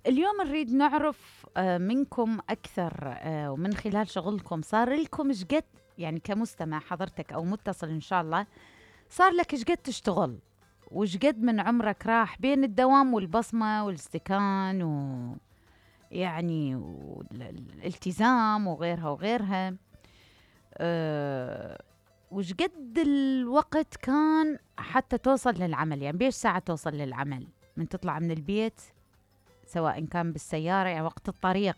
اليوم نريد نعرف منكم أكثر، ومن خلال شغلكم صار لكم شقد، يعني كمستمع حضرتك أو متصل إن شاء الله، صار لك شقد تشتغل وشقد من عمرك راح بين الدوام والبصمة والاستكان ويعني والالتزام وغيرها وغيرها. وشقد الوقت كان حتى توصل للعمل، يعني بيش ساعة توصل للعمل من تطلع من البيت، سواء كان بالسيارة يعني وقت الطريق.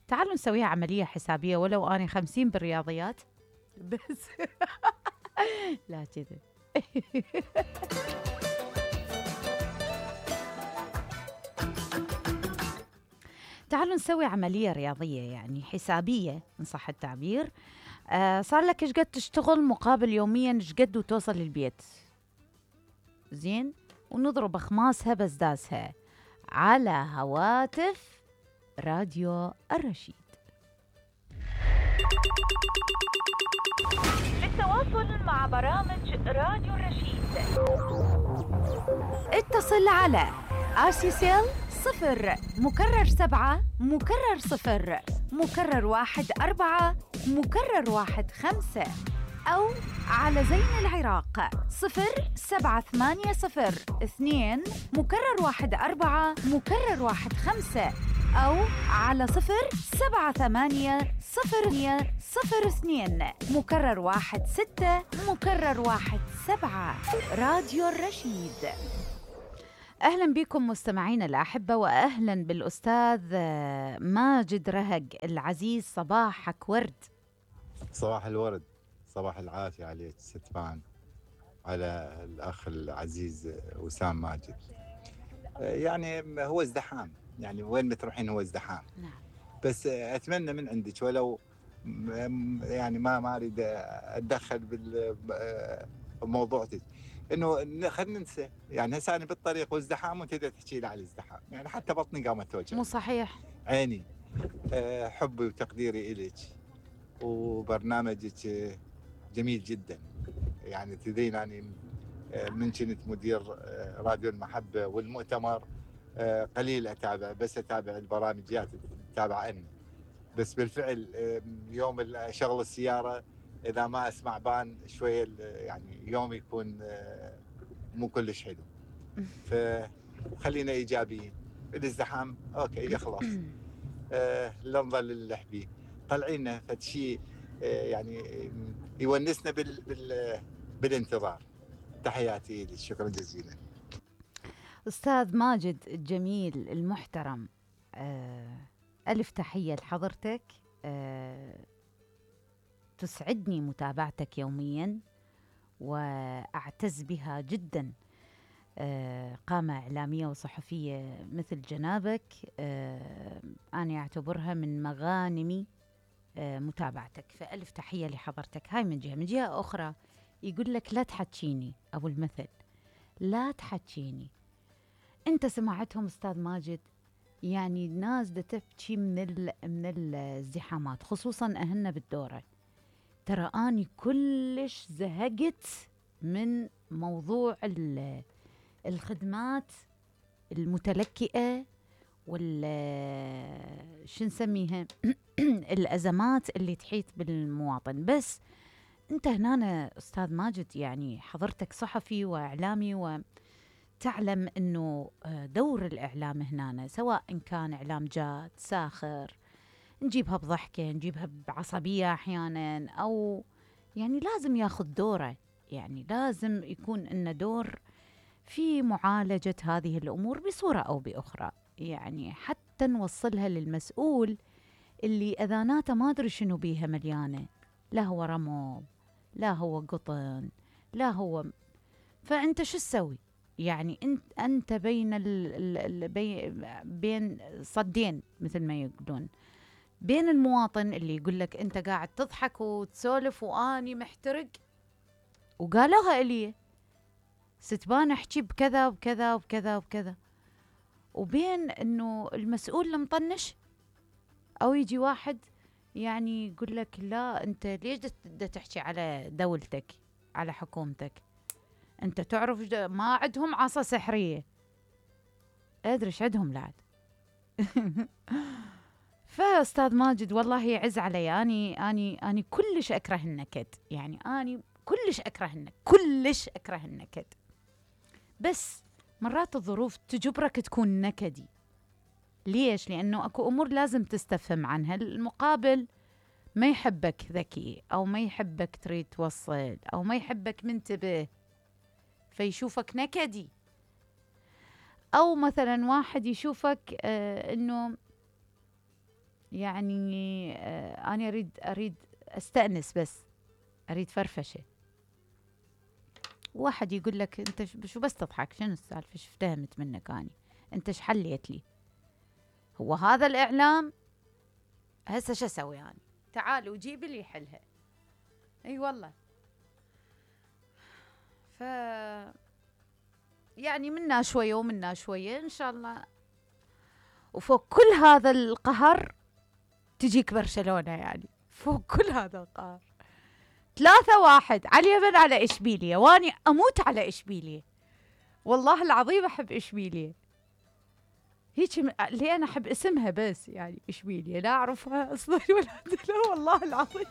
تعالوا نسويها عملية حسابية، ولو أنا 50 بالرياضيات بس لا كذا. تعالوا نسوي عملية رياضية يعني حسابية إن صح التعبير. صار لك إيش قد تشتغل مقابل يوميا إيش قد وتوصل للبيت، زين، ونضرب أخماسها بزدازها على هواتف راديو الرشيد. للتواصل مع برامج راديو الرشيد اتصل على RCCL 0 مكرر 7 مكرر 0 مكرر 1 4 مكرر 1 5، أو على زين العراق 07802 مكرر 1 4 مكرر 1 5، أو على 07802 مكرر 1 6 مكرر 1 7. راديو الرشيد. أهلا بكم مستمعين الأحبة، وأهلا بالأستاذ ماجد رهق العزيز. صباحك ورد. صباح الورد، صباح العافية عليك ست فان، على الأخ العزيز وسام ماجد. يعني هو ازدحام، يعني وين ما تروحين هو ازدحام. نعم. بس أتمنى من عندك، ولو يعني ما أريد أتدخل بالموضوع، إنه خلينا ننسى. يعني هسه أنا بالطريق وازدحام وأنت تحكي لي على الازدحام، يعني حتى بطني قامت توجع. مو صحيح. عيني. حبي وتقديري إليك، وبرنامجك جميل جدا. يعني تدين يعني من كنت مدير راديو المحبة والمؤتمر قليل أتابع، بس أتابع البرامجيات أتابع أنا. بس بالفعل يوم شغل السيارة إذا ما أسمع بان شوية، يعني يوم يكون مو كلش حلو. فخلينا إيجابيين. الازدحام أوكي يخلص. لا نظل اللحبي طلعينا فد شيء يعني يونسنا بالانتظار. تحياتي لك، شكرا جزيلا. أستاذ ماجد الجميل المحترم، ألف تحية لحضرتك. تسعدني متابعتك يوميا وأعتز بها جدا. قامة إعلامية وصحفية مثل جنابك، أنا أعتبرها من مغانمي متابعتك، فألف تحية لحضرتك. هاي من جهة أخرى يقول لك لا تحكيني أبو المثل، لا تحكيني. أنت سمعتهم أستاذ ماجد؟ يعني الناس دا تبكي من الازدحامات، خصوصا أهلنا بالدورة. ترى أني كلش زهقت من موضوع الخدمات المتلكئة شو نسميها الأزمات اللي تحيط بالمواطن. بس أنت هنا أستاذ ماجد، يعني حضرتك صحفي وإعلامي، وتعلم أنه دور الإعلام هنا سواء إن كان إعلام جاد ساخر، نجيبها بضحكة نجيبها بعصبية أحيانا، أو يعني لازم ياخذ دوره، يعني لازم يكون إنه دور في معالجة هذه الأمور بصورة أو بأخرى، يعني حتى نوصلها للمسؤول اللي أذاناته ما أدري شنو بيها مليانة، لا هو رمل لا هو قطن لا هو. فأنت شو تسوي؟ يعني أنت بين صدين مثل ما يقولون، بين المواطن اللي يقول لك أنت قاعد تضحك وتسولف وآني محترق وقالوها إلي ستبان أحكي بكذا وكذا وكذا وكذا، وبين إنه المسؤول المطنش، أو يجي واحد يعني يقول لك لا أنت ليش دا تحكي على دولتك على حكومتك، أنت تعرف ما عندهم عصا سحرية. أدري إيش عندهم لعد فاستاذ ماجد والله يعز علي، اني كلش اكره النكد، يعني اني كلش اكره النكد، كلش اكره النكد. بس مرات الظروف تجبرك تكون نكدي. ليش؟ لانه اكو امور لازم تستفهم عنها. المقابل ما يحبك ذكي، او ما يحبك تريد توصل، او ما يحبك منتبه، فيشوفك نكدي. او مثلا واحد يشوفك انه يعني انا اريد استأنس، بس اريد فرفشه. واحد يقول لك انت شو بس تضحك، شنو السالفه، شو افتهمت منك اني، انت ايش حليت لي؟ هو هذا الاعلام؟ هسه شو اسوي يعني؟ تعالوا جيبي لي حلها. اي والله. ف يعني منا شويه ومنا شويه ان شاء الله. وفوق كل هذا القهر تجيك برشلونه، يعني فوق كل هذا القهر 3-1 على اليمن على اشبيليه، واني اموت على اشبيليه. والله العظيم احب اشبيليه، هيك اللي انا احب اسمها بس، يعني اشبيليه لا اعرفها اصلا ولا لا، والله العظيم.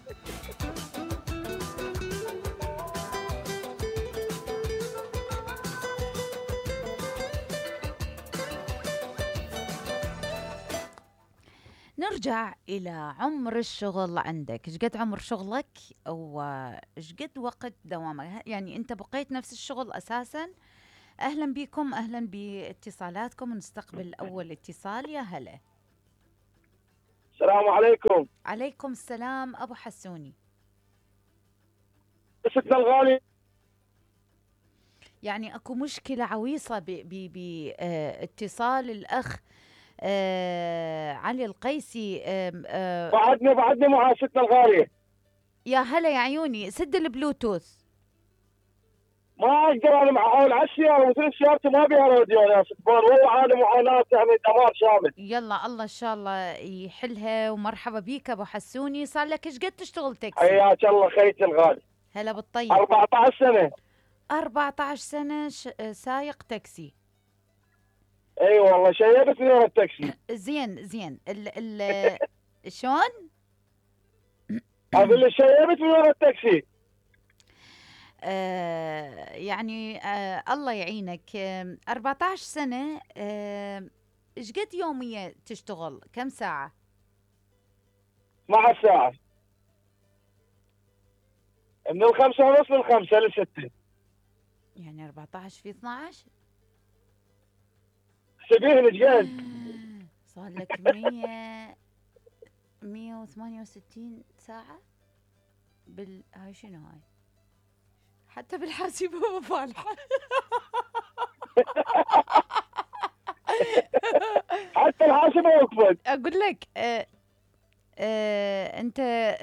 نرجع إلى عمر الشغل عندك. ايش قد عمر شغلك وايش قد وقت دوامك؟ يعني أنت بقيت نفس الشغل أساساً؟ أهلاً بكم، أهلاً باتصالاتكم. نستقبل أول اتصال. يا هلا. السلام عليكم. عليكم السلام أبو حسوني. ستنا الغالي، يعني أكو مشكلة عويصة باتصال الأخ علي القيسي. بعدني مع ستنا الغالية. يا هلا يا عيوني، سد البلوتوث. ما اقدر انا مع حول عالسيارة، ومثل سيارتي ما بيها راديو يا ستبان، والله عالي معاناة، يعني دمار شامل. يلا الله ان شاء الله يحلها، ومرحبا بيك ابو حسوني. صار لك ايش قد تشتغل تاكسي؟ حياك الله خيتي الغالي. هلا بالطيب. 14 سنة. 14 سنة سايق تاكسي. اي والله شيبت من التاكسي. زين ال شلون؟ اقول لك شيبت من التاكسي. يعني الله يعينك. 14 سنة. ايش قد يومية تشتغل؟ كم ساعة؟ مع الساعة من 5:30 ل5 ل6. يعني 14 في 12 سبيل جاز. صار لك 168 ساعة هاي شنو هاي؟ حتى بالحاسبة ما فالحة. حتى الحاسبة وقفت. اقول لك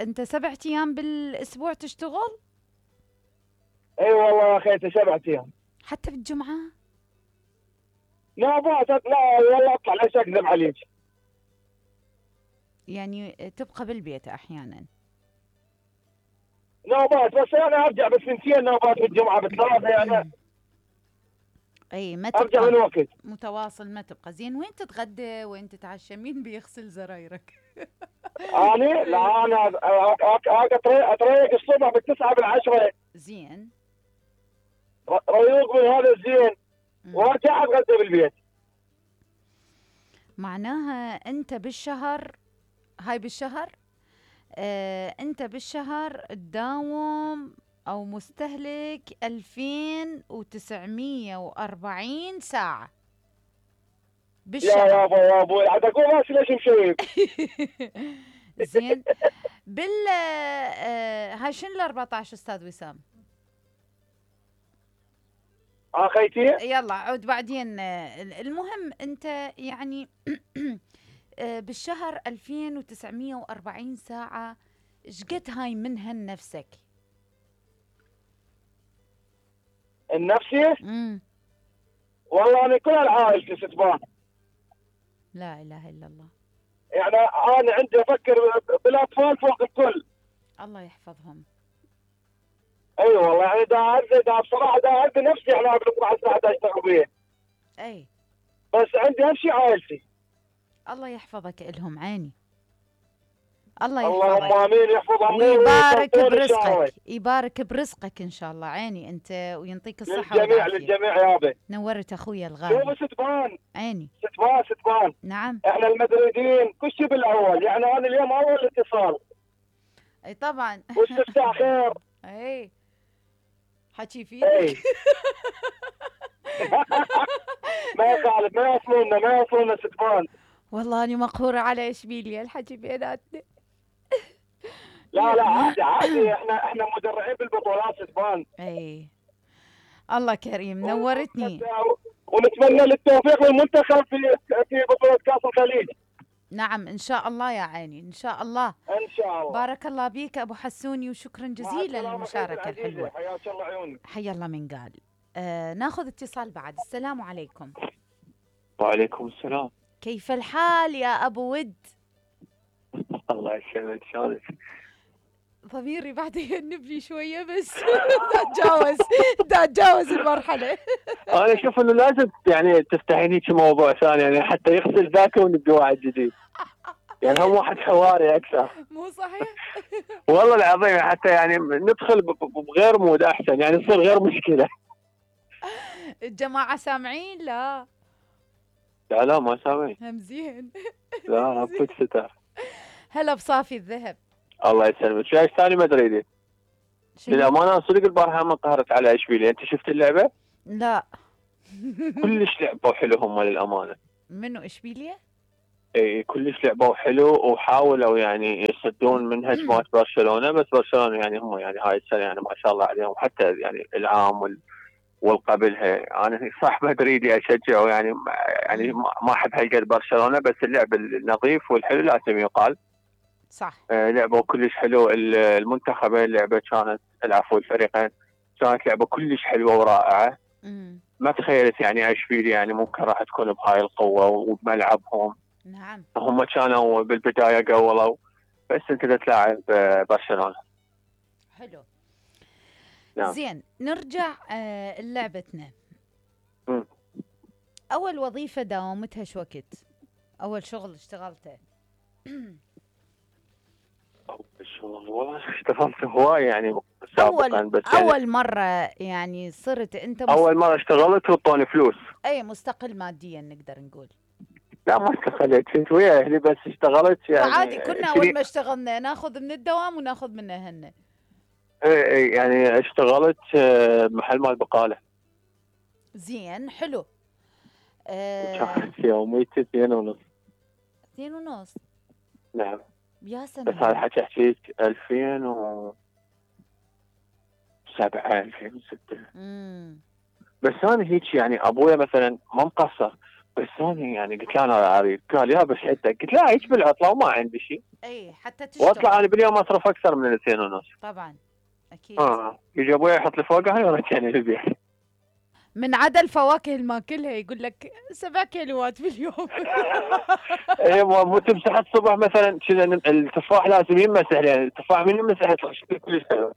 انت 7 ايام بالاسبوع تشتغل؟ اي والله يا خيتي 7 ايام. حتى بالجمعة؟ لا والله اطلع ليش اكذب عليك. يعني تبقى بالبيت احيانا؟ نوبات، بس انا ارجع بالثنتين نوبات بالجمعه بالثلاثه يعني. اي ما ارجع من وقت متواصل، ما تبقى. زين وين تتغدى وين تتعشى؟ مين بيغسل زرايرك؟ انا لا انا اتريق الصبح بالتسعة بالعشرة. زين ريوق من هذا الزين، وارجع اتغدى بالبيت. معناها انت بالشهر، هاي بالشهر انت بالشهر تداوم او مستهلك 2940 ساعة بالشهر. يا ابوي عاد اقول راسي ليش مشيب. زين هاي شنو ال 14 استاذ وسام؟ خيتي يلا عود بعدين. المهم انت يعني بالشهر 2940 ساعة، ايش قد هاي منها لنفسك؟ النفسي؟ والله انا كل العائلة ستبان. لا اله الا الله. يعني انا عندي افكر بالاطفال فوق الكل. الله يحفظهم. اي والله يعني دا بصراحة دا عندي نفسي يعني بكره الساعة 11 اشتغل بيه. اي بس عندي اهم شيء عائلتي. الله يحفظك إلهم عيني. الله اللهم يحفظك امين، يحفظ عمو ويبارك ويطول ان شاء الله. برزقك، يبارك برزقك إن شاء الله عيني أنت، وينطيك الصحة للجميع والعافية. للجميع يابا. نورت أخويا شوف الغالي. ستبان عيني. ستبان نعم. احنا المدريدين كل شيء بالاول، يعني انا اليوم اول اتصال أي طبعا. واستفتاح خير. أي حكي اي فيك. ما يخالف، ما يوصلنا ستبان. والله أنا مقهورة على إشبيليا الحكي بيناتنا. لا عادي، احنا مدرعين بالبطولات ستبان. اي الله كريم، نورتني. ونتمنى للتوفيق للمنتخب في بطولة كأس الخليج. نعم ان شاء الله يا عيني، ان شاء الله. ان شاء الله. بارك الله بيك ابو حسوني، وشكرا جزيلا للمشاركة الحلوة. حياك الله عيوني. حيا الله من قال. ناخذ اتصال بعد. السلام عليكم. وعليكم السلام. كيف الحال يا ابو ود؟ الله يسلمك، شلونك؟ ضميري بعد يهنبني شوية بس. دا اتجاوز المرحلة. انا اشوف انه لازم يعني تفتحين هيك موضوع ثاني، يعني حتى يغسل ذاك ونبدا واحد جديد. يعني هم واحد حواري اكثر. مو صحيح؟ والله العظيم حتى يعني ندخل بغير مود احسن، يعني يصير غير مشكلة. الجماعة سامعين؟ لا لا ما سامعين. همزين. لا كنت ستار. هلا بصافي الذهب. الله يسلمك. شايف ثاني مدريدي للامانه صدق البارحه ما قهرت على اشبيليه. انت شفت اللعبه؟ لا. كلش لعبوا حلو هم للامانه. منو اشبيليه؟ اي كلش لعبوا حلو وحاولوا يعني يصدون من هجمات برشلونه، بس برشلونه يعني هم يعني هاي السنه يعني ما شاء الله عليهم، حتى يعني العام والقبلها. انا صح مدريدي اشجعه يعني ما احب هالقد برشلونه، بس اللعب النظيف والحلو لازم يقال. صح. لعبوا كلش حلو المنتخبين، اللعبه كانت الفريقين كانت لعبه كلش حلوه ورائعه. ما تخيلت يعني اشبيليه يعني ممكن راح تكون بهاي القوه وبملعبهم. نعم. هم كانوا بالبدايه قولوا، بس انت تلاعب برشلونه. حلو. نعم. زين نرجع لعبتنا. اول وظيفه داومتها شو وقت؟ اول شغل اشتغلته؟ والله اشتغلت هواي يعني سابقا، بس اول يعني مره يعني صرت انت اول مره اشتغلت وطوني فلوس. اي مستقل ماديا نقدر نقول. لا ما استقلت، كنت ويا اهلي بس اشتغلت يعني. عادي كنا اول ما اشتغلنا ناخذ من الدوام وناخذ منه هن. اي يعني اشتغلت محل مال بقاله. زين حلو. كانت يوميتي 2.5. 2.5. نعم. يا سنة. بس هذا حكي احكيك 2007 2006. بس انا هيك يعني ابويا مثلا ما مقصر، بس انا يعني قلت له انا اريد، قال يا بس حدك، قلت له هيك بالعطله وما عندي شيء. اي حتى تشتغل. واطلع انا باليوم اصرف اكثر من 2.5. طبعا اكيد. يجي ابويا يحط لي فوقها هاي ورجعني للبيت. من عدا الفواكه اللي ماكلها يقول لك 7 كيلوات باليوم. ايوه مو تمسح الصبح مثلا التفاح لازم يمسح، يعني التفاح من يمسح يطلع شكله كلش حلو.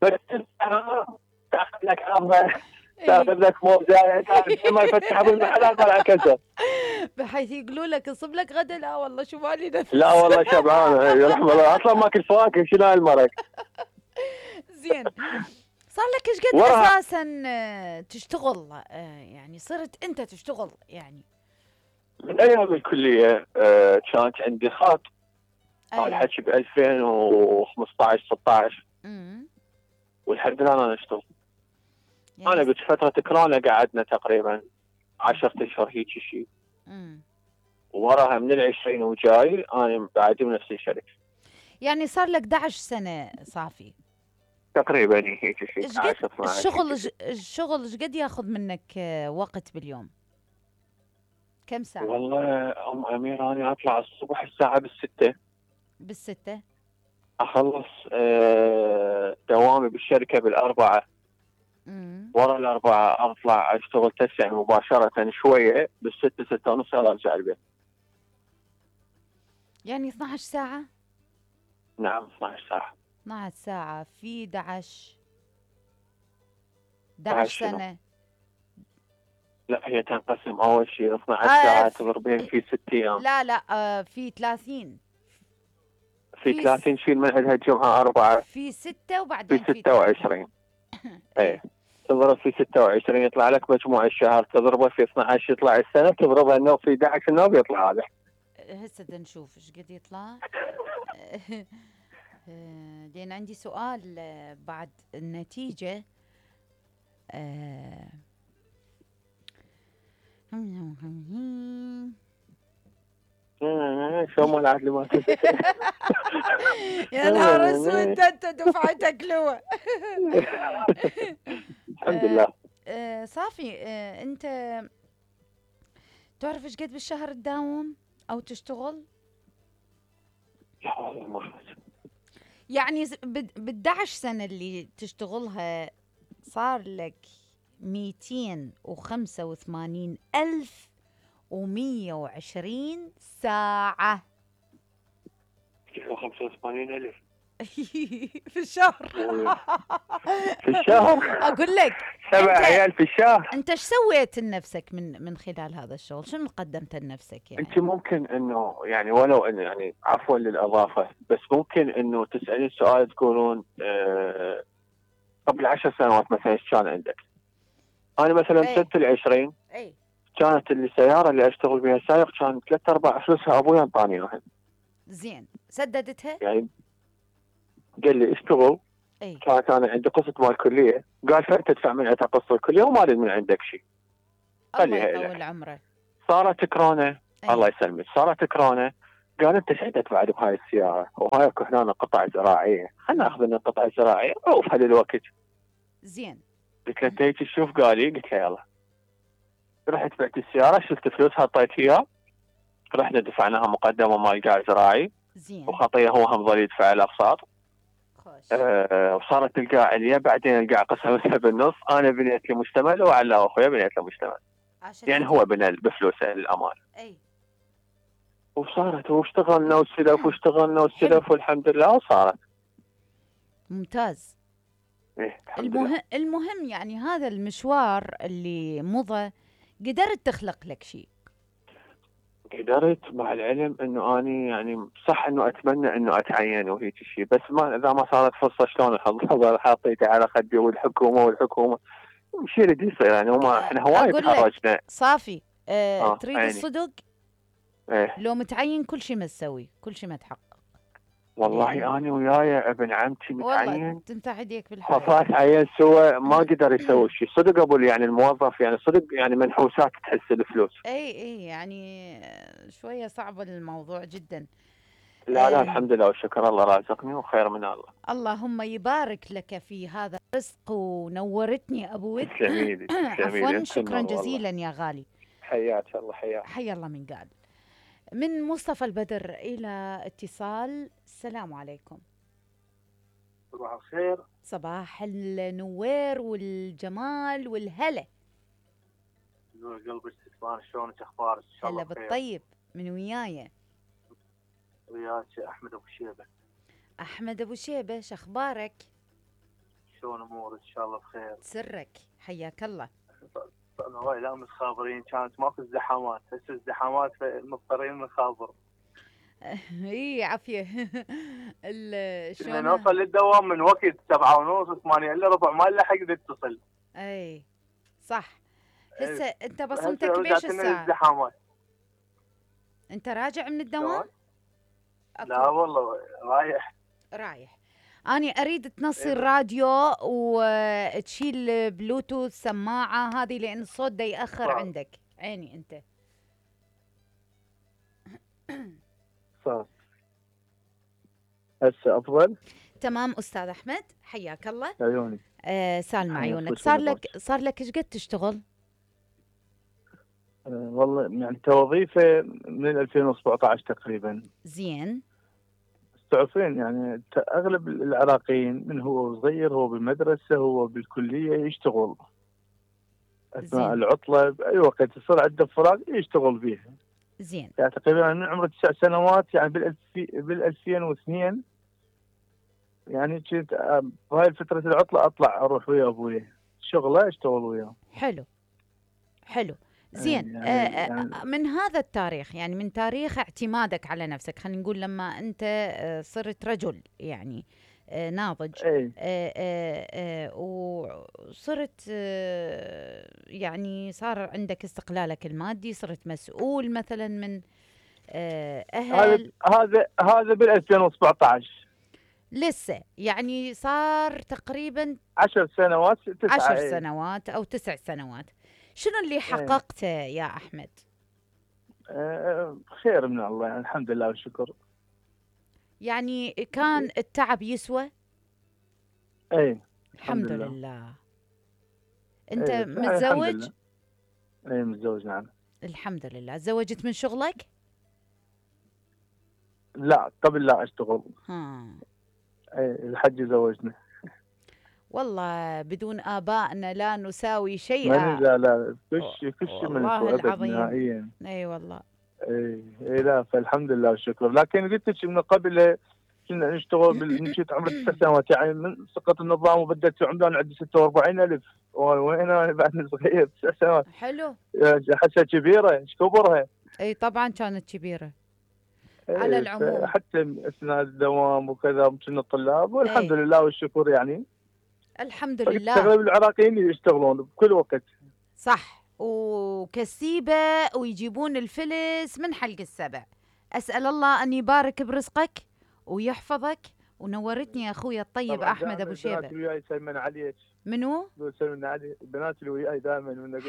بس تاخذ لك عظمه، تاخذ لك موزه، ما يفتح ابو المحلات طلع كسر. بحيث يقولوا لك اصب لك غدا، لا والله شو مالي نفس. لا والله شبعان يرحم الله، اصلا ماكل فواكه شنو هالمرق. زين صار لك ايش قد اساسا تشتغل؟ يعني صرت انت تشتغل يعني من ايام الكليه. كانت عندي خاط هذا الحكي ب 2015 16. والحمد لله انا اشتغل. يعني انا بفتره كورونا قعدنا تقريبا 10 اشهر هيك شيء. وراها من 20 وجاي انا بعدي بنفس الشركه. يعني صار لك 11 سنه صافي تقريبا هيك شيء. الشغل ايش قد ياخذ منك وقت باليوم؟ كم ساعه؟ والله ام امير انا اطلع الصبح الساعه بالستة. بالستة اخلص دوامي بالشركه بالأربعة. ورا الأربعة اطلع اشتغل تسع مباشره شويه بالستة 6:30 ارجع البيت. يعني 12 ساعه. نعم 12 ساعه. 12 ساعه في 11 سنه. لا هي تنقسم اول شيء 12 ساعه تضربين في 6 ايام. لا في 30. في 30 شيل من عندها الجمعه 4. في 6 وبعدين في 26. ايه تضرب في 26 يطلع لك مجموع الشهر، تضربه في 12 يطلع السنه، تضربها النوب في 11 النوب يطلع هذا. هسه بدنا نشوف ايش قد يطلع. لان عندي سؤال بعد النتيجه. شو ما العدل ما يا نهار اسود، انت دفعتك لو. الحمد لله. صافي. انت تعرف ايش قد بالشهر تداوم او تشتغل؟ يعني ب 11 سنه اللي تشتغلها صار لك 285,120 ساعة. 285,000 في الشهر. في الشهر أقول لك 7 عيال في الشهر. أنت إيش سويت لنفسك من خلال هذا الشغل؟ شنو قدمت لنفسك يعني؟ أنت ممكن إنه يعني ولو إنه يعني عفوا للإضافة، بس ممكن إنه تسألين سؤال تقولون قبل 10 سنوات مثلا إيش كان عندك؟ أنا مثلا سنة 20 كانت السيارة اللي أشتغل بها سائق كان 3/4 فلوسها أبوي أنطاني إياها. زين سددتها؟ يعني قال لي اشتغل. كانت أنا عندي قسط مال الكلية، قال فأنت تدفع من عندك قسط الكلية وما أريد من عندك شيء. الله يطول عمره. صارت كورونا. الله يسلمك. صارت كورونا، قال أنت ايش عندك بعد بهاي السيارة وهاي هنا قطع زراعية، خلنا ناخذ لنا قطع زراعية عوفها للوقت. زين. قلت له انت هيك تشوف؟ قال لي. قلت له يلا. رحت بعت السيارة، شلت فلوس حطيت فيها، رحنا دفعناها مقدمة مال قاع زراعي. زين. وخطيه هو هم ظل يدفع الاقساط. وصارت القاع عليا، بعدين القاع قسمتها بالنص، انا بنيت لي مشتمل وعلى اخويا بنيت له مشتمل. يعني هو بنى بفلوسه للأمان. وصارت واشتغلنا واشتغلنا والحمد لله وصارت. ممتاز. المهم يعني هذا المشوار اللي مضى قدرت تخلق لك شيء. قدرت، مع العلم انه اني يعني صح انه اتمنى انه اتعين وهيك شيء، بس ما اذا ما صارت فرصه شلون الحظ حاطيته على خدي والحكومه شيء اللي يصير يعني. وما احنا هواي تخرجنا. صافي. تريد عيني. الصدق؟ لو متعين كل شيء ما تسوي، كل شيء ما تحقق. والله أنا وياي ابن عمتي متعين، والله تنتهي يديك بالحياة. فات عين سوى ما قدر يسوي شيء. صدق ابو يعني الموظف يعني صدق يعني منحوسات تحس الفلوس. اي يعني شويه صعب الموضوع جدا. لا الحمد لله والشكر، الله رازقني وخير من الله. اللهم يبارك لك في هذا الرزق، ونورتني ابو ود. جميل. عفوا، شكرا جزيلا يا غالي. حياك الله. حيا الله من قال. من مصطفى البدر إلى اتصال. السلام عليكم. صباح الخير. صباح النوير والجمال والهلا. نور قلب الاستثمار، شلونك اخبارك؟ ان شاء الله هلا بالطيب. من وياي؟ وياك احمد ابو شيبه. احمد ابو شيبه، شخبارك؟ شلون امورك؟ ان شاء الله بخير. سرك، حياك الله. صرنا هواي لا متخابرين، كانت ماكو ازدحامات، هسه ازدحامات مضطرين نخابر. اي عافيه. شلون نوصل للدوام من وقت 7:30 8 الا ربع ما نلحق نتصل. اي صح. هسه انت بصمتك بيش الساعه؟ ازدحامات. انت راجع من الدوام؟ لا والله رايح. أنا أريد تنصي الراديو وتشيل بلوتوث سماعة هذه، لأن الصوت دا يأخر عندك. عيني أنت. صح. هسه أفضل؟ تمام أستاذ أحمد، حياك الله. عيوني. سالم عيونك. صار لك إيش قد تشتغل؟ والله يعني كوظيفة من 2017 تقريبا. زين. تعرفين يعني اغلب العراقيين من هو صغير هو بالمدرسه هو بالكليه يشتغل اثناء العطله باي وقت يصير عنده فراغ يشتغل بيها. زين. يعني تقريبا من عمر 9 سنوات يعني بال 2002 يعني كنت بهاي فتره العطله اطلع اروح ويا ابوي شغله اشتغل وياه. حلو. حلو زين. من هذا التاريخ، يعني من تاريخ اعتمادك على نفسك، خلينا نقول لما أنت صرت رجل يعني ناضج، وصرت يعني صار عندك استقلالك المادي، صرت مسؤول مثلا من أهل. هذا بال 2017 لسه يعني صار تقريبا 10 سنوات 10 سنوات أو 9 سنوات. شنو اللي حققته يا أحمد؟ خير من الله يعني، الحمد لله والشكر. يعني كان التعب يسوى؟ الحمد لله. أنت متزوج؟ متزوج نعم. الحمد لله. تزوجت من شغلك؟ لا قبل لا أشتغل. الحج زوجنا. والله بدون آبائنا لا نساوي شيئا. لا كش والله العظيم نهائيا. اي والله. اي لا فالحمد لله والشكر. لكن قلت لك من قبل كنا نشتغل مشيت عمري 9 سنوات، يعني من سقط النظام وبدأت عمري عندي 46,000. وين انا بعد صغير 9 سنوات. حلو. حسها كبيره، ايش كبرها؟ اي طبعا كانت كبيره. على العموم حتى اثناء الدوام وكذا كنا طلاب والحمد لله والشكر يعني. الحمد لله. اغلب العراقيين يشتغلون بكل وقت. صح، وكسيبه ويجيبون الفلس من حلق السبع. اسال الله ان يبارك برزقك ويحفظك. ونورتني يا اخوي الطيب احمد ابو شيبه. البنات اللي وياي يسلمن عليك. منو؟ يسلمن علي البنات اللي وياي دائما.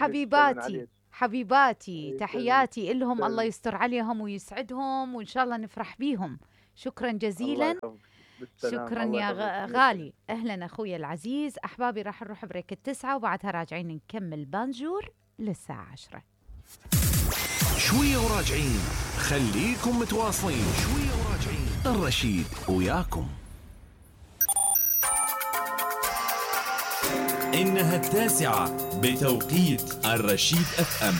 حبيباتي تحياتي لهم. الله يستر عليهم ويسعدهم وان شاء الله نفرح بيهم. شكرا جزيلا. شكرا يا غالي. اهلا اخوي العزيز. احبابي راح نروح بريك 9 وبعدها راجعين نكمل بانجور للساعه 10. شويه وراجعين، خليكم متواصلين. شويه وراجعين، الرشيد وياكم. إنها 9 بتوقيت الرشيد FM.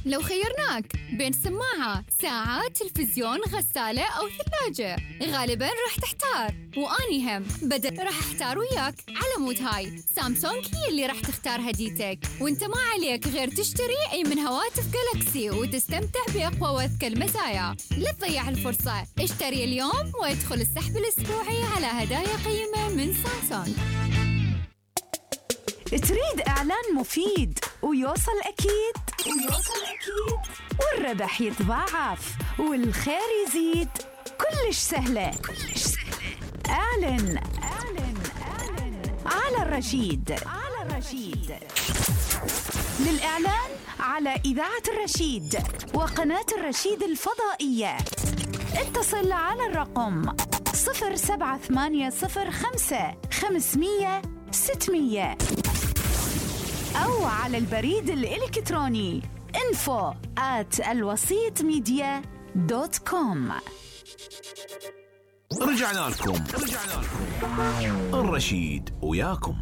لو خيرناك بين سماعة، ساعة، تلفزيون، غسالة أو ثلاجة، غالباً راح تحتار. وأني هم بدل راح أحتار وياك على مود هاي. سامسونج هي اللي راح تختار هديتك، وانت ما عليك غير تشتري أي من هواتف جالاكسي وتستمتع بأقوى وأذكى المزايا. لا تضيع الفرصة، اشتري اليوم وادخل السحب الأسبوعي على هدايا قيمة من سامسونج. تريد إعلان مفيد ويوصل أكيد والربح يتضاعف والخير يزيد؟ كلش سهلة. اعلن على الرشيد. للإعلان على إذاعة الرشيد وقناة الرشيد الفضائية اتصل على الرقم 07805 أو على البريد الإلكتروني info@alwasitmedia.com. رجعنا لكم. الرشيد وياكم.